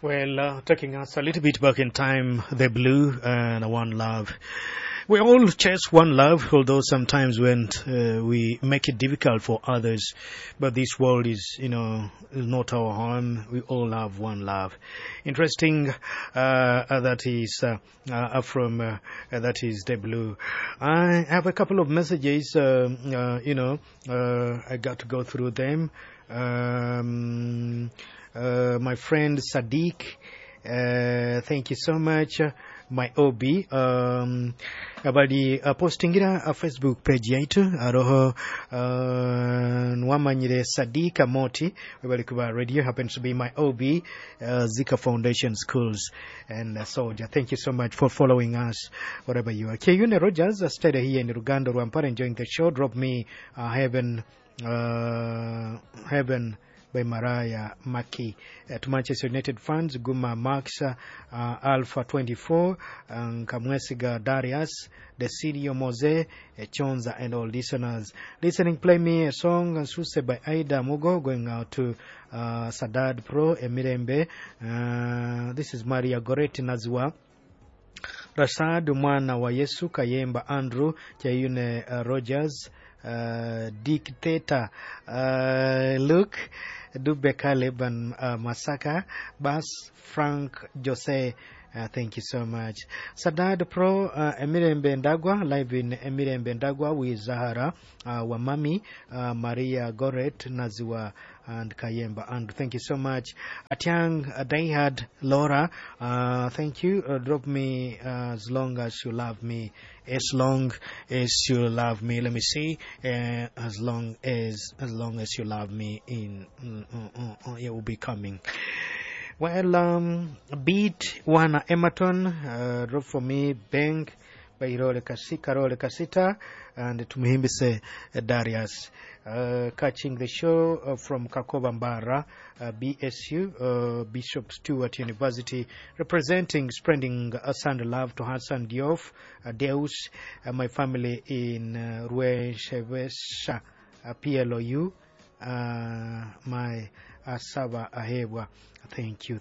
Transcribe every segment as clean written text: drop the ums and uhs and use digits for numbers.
Well, taking us a little bit back in time, the Blue and One Love. We all chase one love, although sometimes when we make it difficult for others. But this world is, is not our home. We all have one love. Interesting, that is from that is the Blue. I have a couple of messages. I got to go through them. My friend Sadiq, thank you so much. My OB, abali postingira a Facebook page yaitu aroho nwamanyire Sadiq Amoti webali kuba radio happens to be my OB, Zika Foundation Schools and Soldier. Thank you so much for following us wherever you are. Kiyune Rogers stayed here in Rugando, Rwampara, enjoying the show. Drop me Heaven by Mariah Maki. To Manchester United fans, Guma Max, Alpha 24, Kamwesiga Darius, Desidio Mose, Chonza, and all listeners. Listening, play me a song, Suse by Aida Mugo, going out to Sadad Pro, Emirembe. This is Maria Goretti Nazwa. Rashad mwana wa Yesu Kayemba Andrew Chayune Rogers Dictator Luke Dube Caleb and Masaka Bas Frank Jose. Thank you so much. Sadad Pro, Emirembe Ndagwa, live in Emirembe Ndagwa with Zahara Wamami, Maria Goret, Naziwa, and Kayemba. And thank you so much. Atiang Dayhad Laura, thank you. Drop me As Long As You Love Me. As Long As You Love Me. Let me see. As long as You Love Me in it will be coming. Well, beat one Emerton, drop for me Bank by Karole Kasita and Tumuhimbise Darius. Catching the show from Kakoba Mbara, BSU, Bishop Stewart University, representing, spreading Sunday love to Hassan Diouf, Deus, my family in Rueshevesha, PLOU, my Asaba Ahebwa. Thank you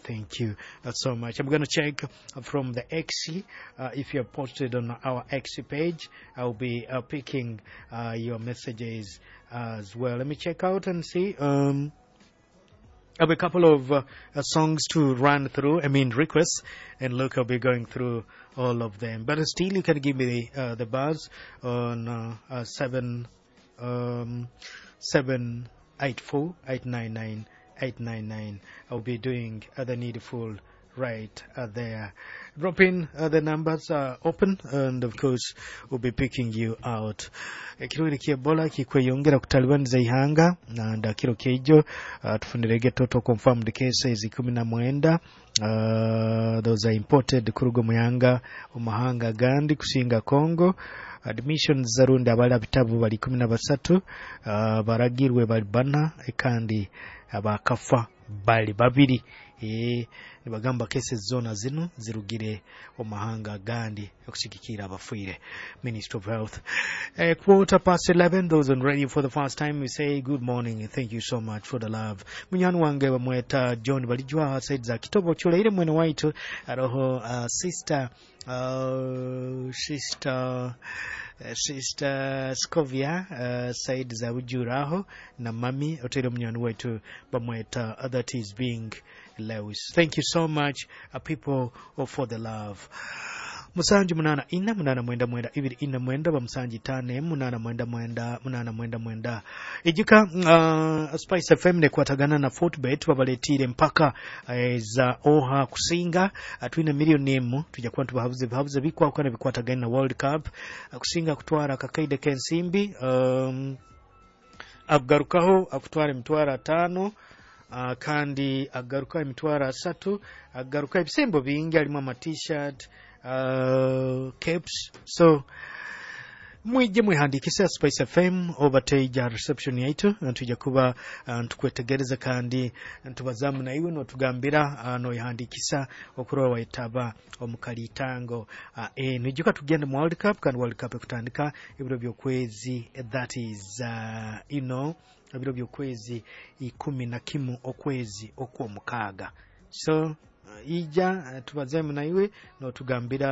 so much. I'm going to check from the XC. If you have posted on our XC page, I'll be picking your messages as well. Let me check out and see. I have a couple of songs to run through, I mean requests, and look, I'll be going through all of them. But still, you can give me the buzz on 7 784 899 899. I'll be doing the needful right there. Drop in the numbers are open, and of course, we'll be picking you out. Ekirwaire kya Ebola kikweyongera kutalibaniza ihanga na kiro keijo tufunirege total confirmed cases 19, those are imported kuruga muyanga omumahanga agandi kusinga Congo. Admissions zarundi abali abitabu bali 13, baragirwe bali bana kandi abakafa bali babiri. Nibagamba cases zona zino zirugire omumahanga agandi okusigikira abafiire. Ministry of Health. 11:15, those on radio for the first time, we say good morning. Thank you so much for the love. Munywani wange bamweta John Balijwa said za Kitobo chuleire mwene waitu aroho sister Scovia said za Ujuraho na mami otero munywani wetu bamweta that is being Lewis. Thank you so much, people, for the love. 7 8 8 9 9 2 4 9 ba 7 5 8 9 9 8 9 9 ijuka. Spice FM nekwatagana na Fortbet babaletire mpaka za oha kusinga. Twine miliyoni 1 tujja kuba tubahabuze bihabuze bikwakwana bikwatagana na World Cup, kusinga kutwara akakaide k'ensimbi, akugarukaho akutwara 500,000, kandi agaruka 30,000, agaruka ebisembo bingi harimu ama T-shirt, caps. So mwije mwihandikise Spice FM oba teija reception yaitu, tujja kuba ntukwetegereza kandi ntubazamu naiwe notugambira noyihandikisa okurora waitaba omukalitango. Nijuka tugende mu World Cup, kandi World Cup ekutandika ebiro by'okwezi, that is ebiro by'okwezi 11 okwezi okw'omukaaga. So Ija tubazeemu naiwe, notugambira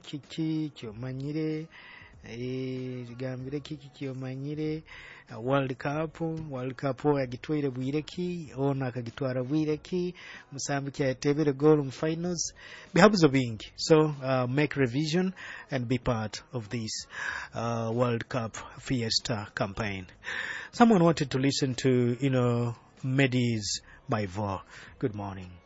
kiki kyomanyire. Tugambire kiki kyomanyire. World Cup, World Cup yagitwaire bwire ki, ono akagitwara bwire ki, musambi kyayatebere goal mu finals, bihabuzo bingi. So make revision and be part of this World Cup Fiesta campaign. Someone wanted to listen to Meddy's My Vow. Good morning.